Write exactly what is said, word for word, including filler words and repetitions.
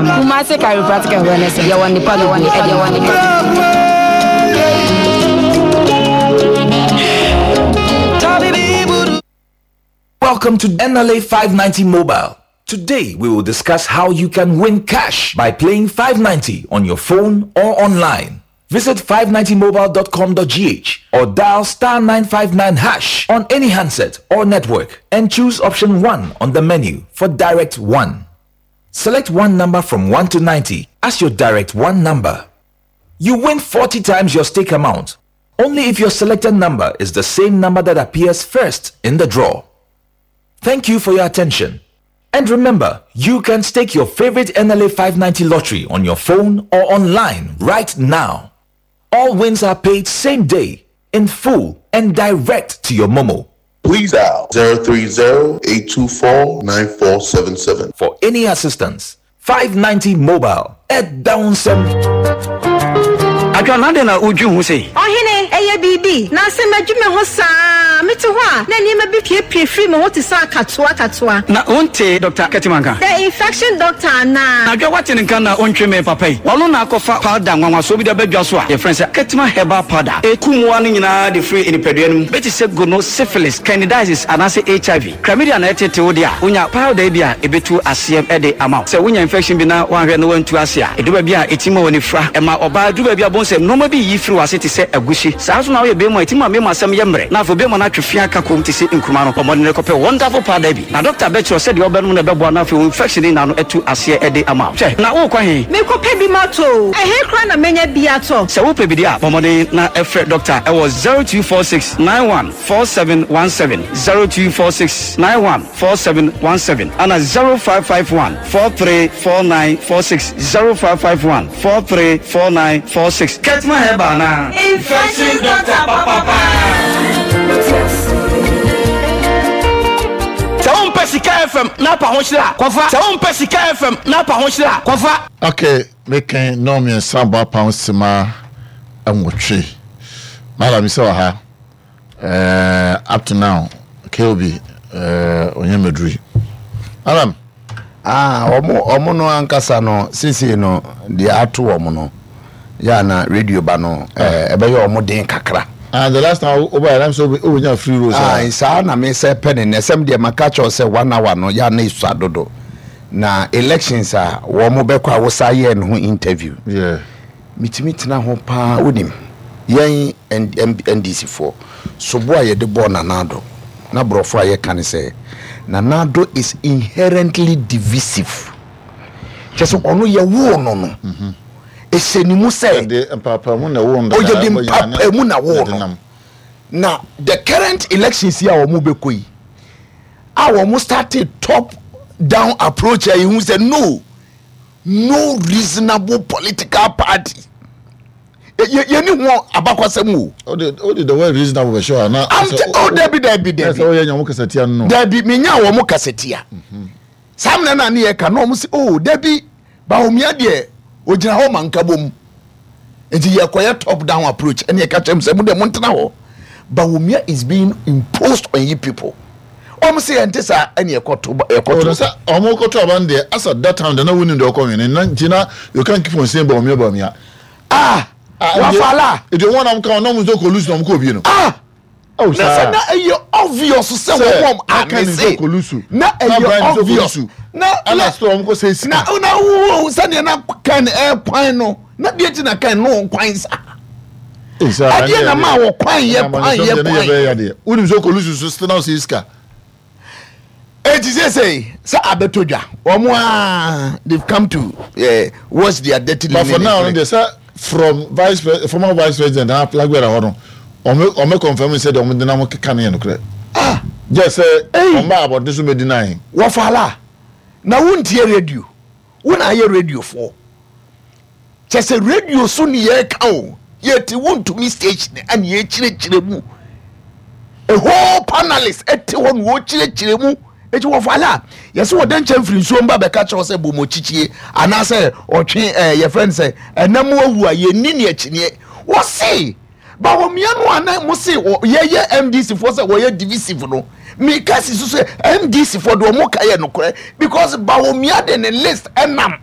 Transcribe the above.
Kumasi Chiropractic and Wellness Center. Yɛwɔ nipa bebree ɛde wɔ nipa. Welcome to N L A five ninety Mobile. Today we will discuss how you can win cash by playing five ninety on your phone or online. Visit five ninety mobile dot com dot G H or dial star nine five nine hash on any handset or network and choose option one on the menu for Direct one. Select one number from one to ninety as your Direct one number. You win forty times your stake amount only if your selected number is the same number that appears first in the draw. Thank you for your attention. And remember, you can stake your favorite N L A five ninety lottery on your phone or online right now. All wins are paid same day, in full, and direct to your Momo. Please dial zero three zero, eight two four, nine four seven seven. For any assistance, five ninety Mobile at Downsem. Adwa na na wodwi ho sei? Ɔhene, ɛyɛ biribi na sɛ madwi me ho saa, mete hɔ a na nneɛma bi piepie firi me ho te sɛ akatoa akatoa. Na wonte Doctor Kɛtimanka? The infection doctor anaa? Na adwa, wate ne nka na ɔntwe me papa yi, ɔno na akɔfa powder nwanwasoɔ bi de abɛdwa so a yɛfrɛ sɛ Ketima Herbal Powder. Ɛku mmoa no nyinaa de firi nipadua no mu, bɛte sɛ gono, syphilis, candidiasis anaasɛ H I V, chlamydia na ɛtete wo deɛ a, wonya powder yi bi a ɛbɛtu aseɛ de ama wo. Sɛ wonya infection bi na woanhwɛ na woantu ase a, ɛdu baabi a ɛtumi ma w'ani fira, ɛma ɔbaa duru baabi a bɔn sɛ nneɛma bi yi firi w'ase te sɛ agusi. Saa nso na woyɛ bɛrima a, ɛtumi ma mmarima asɛm yɛ mmerɛ na afei bɛrima no atwe fia ka kom te sɛ nkuruma no. Ɔmmɔden no kɔpɛ wonderful powder bi na doctor bɛkyerɛ sɛdeɛ wobɛnom no ɛbɛboa na afei wo infection ne na no atu aseɛ de ama wo. Hwɛ na wokɔ he? Mekɔpɛ bi matɔ o. Ɛhe koraa na menya bi atɔ? Sɛ wopɛ bi deɛ a, bɔ mmɔden na ɛfrɛ doctor ɛwɔ zero two four six nine one four seven one seven, zero two four six nine one four seven one seven, ana zero five five one four three four nine four six, zero five five one four three four nine four six. Ketima Herbal na infection doctor papapa. Sɛ wompɛ Sika F M na apa ho hyerɛ a, kɔfa. Sɛ wompɛ Sika F M na apa ho hyerɛ a, kɔfa. Okay, meken na mmiɛnsa bɔ apam sima nwɔtwe. Madam sɛ wɔ ha uh, up to now K O B uh, ɔnyɛ maduri, madam. Ah, ɔmo ɔmo no ankasa no, sisi no deɛ ato wɔn no yà na radio ba no, ɛɛ ɛbɛyɛ ɔmo den kakra. Ah, the last time ɔba yɛrɛ sɛ ɔbɛnya free roll. Ah, saa na mi sɛ pɛ ne nɛ sɛm deɛ maka kyerɛw sɛ one hour no yà na esua dodo na elections a wɔn bɛkɔ a wosa yɛ ne ho interview. Yeah. Mitumi tena ho paa. Wonim yɛn N D C foɔ sobo a yɛde bɔɔ Nana Addo na borɔfo a yɛka ne sɛ Nana Addo is inherently divisive, kyɛ sɛ ɔno yɛwoo no no ɛhyɛ ne mu sɛ yɛde mpaapaemu na ɛwɔ no. Ɔyɛde mpaapaemu na woo no. Na the current elections yi a wɔn bɛkɔ yi a wɔn started top down approach a yehu sɛ no no reasonable political party yɛni ho abakwasɛm o. O de o de the word reasonable bɛ sure na. Am te o, dabi, dabi, dabi. Ɛsɛ o yɛ nyamu kasatia no. Dabi, menya wɔn kasatia saa mmerɛ na ne yɛ ka na wɔn sɛ, oh dabi, Bawumia deɛ ogyina hɔ ma nka bom, nti yɛkɔyɛ top down approach. Ɛne yɛka kyerɛ mu sɛ mo deɛ montena hɔ, Bawumia is being imposed on you people. Wɔn sɛ yɛnte saa, ɛne yɛkɔto yɛkɔto. Ɔdɔ sɛ ɔmo kɔtɔ aba no deɛ, as at that time deɛ, na wonim deɛ ɔkɔ nwene na nti na you can't keep on saying Bawumia, Bawumia. Ah, wafala. Ètò wọn nam kan ɔnam nso kɔ lose na ɔmo kɔ obie no. Ah, oh, na sɛ na ɛyɛ obvious sɛ wɔn amese na ɛyɛ obvious na ɛna still ɔmo kɔ sɛ sika. Na na wo sɛdeɛ na kan ɛkwan no na deɛ ti na kan no kwan sa ɛdeɛ na maa wɔ kwan yɛ kwan yɛ kwan. Wonim sɛ ɔkɔ lose so still na ɔsɛ sika. Eti sese sɛ abɛtɔ dwa, wɔn a they come to uh, wash their dirty But for linen. now no deɛ, sɛ from vice pre former vice president na flag bearer hɔ no, ɔmo ɔmo confirm sɛ deɛ ɔmo de nam keka no yɛ nokorɛ. Ah. Gye sɛ ɔmo ba abɔnten so bɛ deny. Wɔfala na wontie radio, wo na ayɛ radio foɔ kyɛ sɛ radio so ne yɛreka o, yɛte Wontumi station ɛne yɛkyerɛkyerɛ mu, a whole panelist ɛte hɔ na wɔkyerɛkyerɛ mu. Eti wɔfala a yɛsɛ wɔda nkyɛn firi nsuo mba bɛka kyerɛw sɛ bɔmɔkyikyie anaasɛ ɔtwe ɛɛ yɛfrɛ no sɛ ɛnam awu a yɛnni ne akyiniɛ. Wɔse Bawumia no a na mo se yɛyɛ N D C foɔ sɛ wɔyɛ divisive no, meka si so sɛ N D C foɔ de ɔmo ka yɛ nokorɛ because Bawumia de ne list ɛnam.